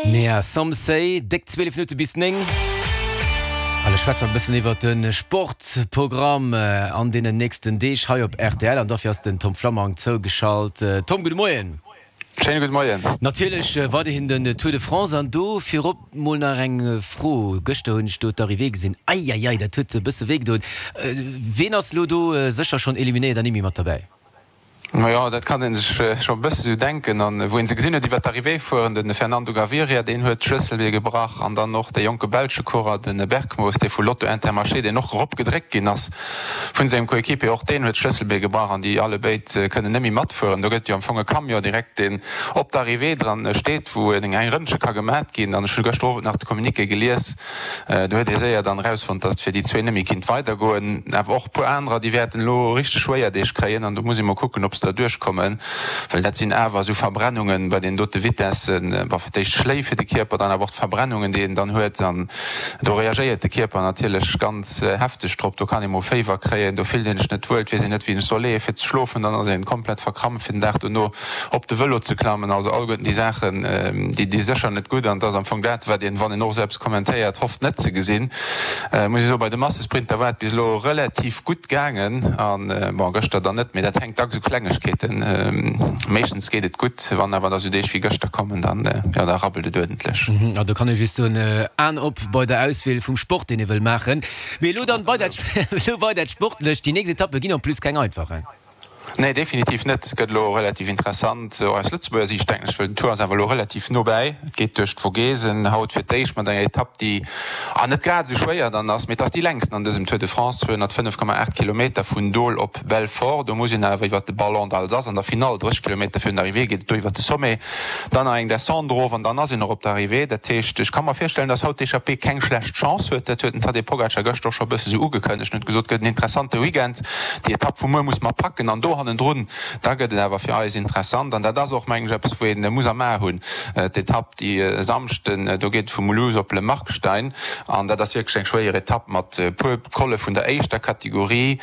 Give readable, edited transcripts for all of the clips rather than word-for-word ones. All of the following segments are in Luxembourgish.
Nea Some Say, déck 12 Minutte bis 9. Allez, schwätze mer e bëssen iwwert de Sportprogramm an deenen nächsten Deeg hei op rtl. An dofir ass den Tom Flammang zougeschalt. Tom, gudde Moien. Schéine gudde Moien. Natierlech weiderhin den Tour de France. An do virop mol nach eng Fro, Gëschter hunn ech do d'Arrivée gesinn. Eieiei, dat huet e bësse wéi gedoen. Ween ass elo do sécher schonn eliminéiert an nimmi mat derbäi? Majo, dat kann ee sech scho e bësse sou denken. An wou een se gesinn huet iwwer d'Arrivée fueren, de Fernando Gaviria, deen huet d'Schlësselbee gebrach an dann och dee jonke belsche Coureur, de Bergmoos, dee vu Lotto Intermarché, deen och erop gedréckt ginn ass vun sengem Coéquipier, och deen huet d'Schlësselbee gebrach an déi allebéid kënnen net méi matfueren. Do gëtt jo am Fong e Camion direkt, deen op d'Arrivée dran steet, wou eng Rëndche ka gemat ginn. An ech hu gëschter Owend nach de Communiqué gelies, Do huet ee séier dann erausfonnt, dass et fir déi zwee net méi kinnt weidergoen. Awer och e puer anerer, déi wäerten elo richteg schwéier Deeg kréien an do muss ee mol kucken, ob se der duerchkommen, well dat sinn awer esou Verbrennungen bei deenen dote Vitessen, bon, fir d'éischt Schléi fir de Kierper, dann awer och d'Verbrennungen, déi een dann huet an do reagéiert de Kierper natierlech ganz hefteg drop. Do kann ee mol Féiwer kréien, do fillt een sech net wuel, et weess een net, wéi een sech soll leeën, fir ze schlofen, dann ass een komplett verkrampft fir den Dag dono. op de Vëlo ze klammen, also alleguerten déi Saachen, déi di sécher net gutt an et ass am Fong dat, wat een, wann een och esou eppes kommentéiert, hofft net ze gesinn. Muss ech soen, bei de Massesprinter war et bis elo relativ gutt gaangen an, bon, gëschter dann net, mee dat hänkt dacks u Klengegkeeten. Meeschtens geet et gutt, wann awer da sou Deeg wéi gëschter kommen, dann, jo, da rabbelt et uerdentlech. Jo, do kann ee just soen, Aen op bei der Auswiel vum Sport, deen ee wëll maachen. Mee elo dann bei dat, elo bei dat Sportlecht, déi nächst Etappe ginn en plus keng einfach, hein? Nee, definitiv net. Et gëtt elo relativ interessant, och aus Lëtzebuerger Siicht, denken ech, well den Tour ass awer elo relativ no bäi. Et geet duerch d'Vogesen haut fir d'éischt mat enger Etapp, déi net grad esou schwéier dann ass, mee et ass déi längsten an dësem Tour de France, 205,8 Kilometer vun Dole op Belfort. Do muss een awer iwwert de Ballon d'Alsace an der Finall, 30 Kilometer virun der Arrivée geet et do iwwert de Sommet, dann nach eng Descente erof an dann ass een och op der Arrivée. Dat heescht, ech ka mer virstellen, datt haut d'Echappée keng schlecht Chance huet. Dat huet den Tadej Pogacar gëschter och scho e bësse sou ugekënnegt en huet gesot, et gëtt en interessante Weekend. Déi Etapp vu muer muss mer packen an do hannendrun, da gëtt et awer fir eis interessant. An dat ass och, mengen ech, eppes, wou ee muss am A hunn. D'Etapp déi e Samschden, do geet et vu Mulhouse op Le Markstein an dat ass wierklech eng schwéier Etapp mat e puer Colle vun der éischter Kategorie.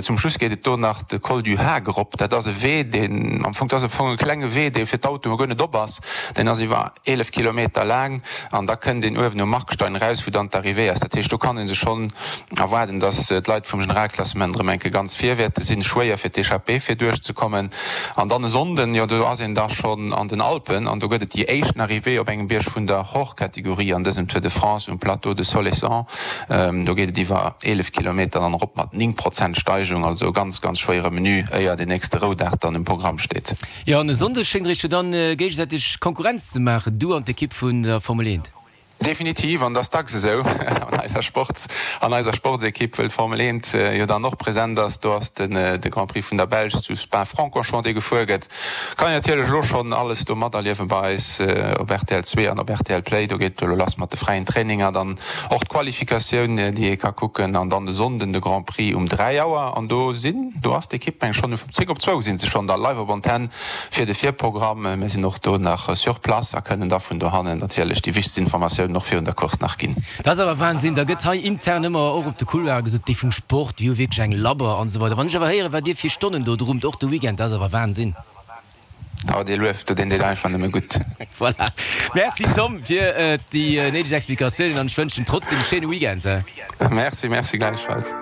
Zum Schluss geet et do nach de Col du Haag erop. Dat ass e Wee, deen am Fong, dat ass am Fong e klenge Wee, dee fir d'Autoe guer net op ass. Deen ass iwwer 11 Kilometer laang an da kënnt een uewen um Markstein eraus, wou dann d'Arrivée ass. Dat heescht, do kann ee sech schonn erwaarden, dass d'Leit vum Generalklassement erëm eng Kéier ganz vir wäerte sinn. Schwéier fir d'Echappée fir duerchzekommen. An dann e Sonnden, jo do ass een da schonn an den Alpen an do gëtt et déi éischten Arrivée op engem Bierg vun der Hors-Catégorie an dësem Tour de France um Plateau de Solesans. Do geet et iwwer 11 Kilometer dann erop mat 9 Prozent Steigung, also e ganz, ganz schwéiere Menu, éier den nächste Roudag dann um Programm steet. Jo, an e Sonndeg schéngt der iech jo dann géigesäiteg Konkurrenz ze maachen, du an d'Ekipp vun der Formel 1. Definitiv, an et ass dacks esou an eiser Sports, an eiser Sportsekipp, wëll d'Formel 1 jo dann och present ass. Do ass den de Grand Prix vun der Belsch zu Spa-Francorchamps, dee gefuer gëtt. Kann een natierlech elo schonn alles do materliewen bei eis op rtl 2 an op rtl Play. Do geet et elo lass mat de fräien Traininger, dann och d'Qualifikatioun, déi ee ka kucken, an dann de Sonnden de Grand Prix um 3 Auer. An do sinn, do ass d'Ekipp meng schonn um 10 op zwou sinn se schonn da live op Antenn fir de Virprogramm. Mir sinn och do nach sur place a kënnen da vun dohannen natierlech déi wichtegst Informatiounen och virun der Course nach ginn. Dat ass awer Wahnsinn, da gëtt hei intern ëmmer och op de Couloire gesot, déi vum Sport, déi hu wierklech eng Labber an esou weider. Wann ech awer héieren, wat dir fir Stonnen do drummt, och de Weekend, dat ass awer Wahnsinn. Oh, dee Luef, do deen deet einfach nëmme gutt. Voilà. Merci Tom fir déi néideg Explikatiounen an ech wënschen trotzdem e schéine Weekend. Merci, merci gläichfalls.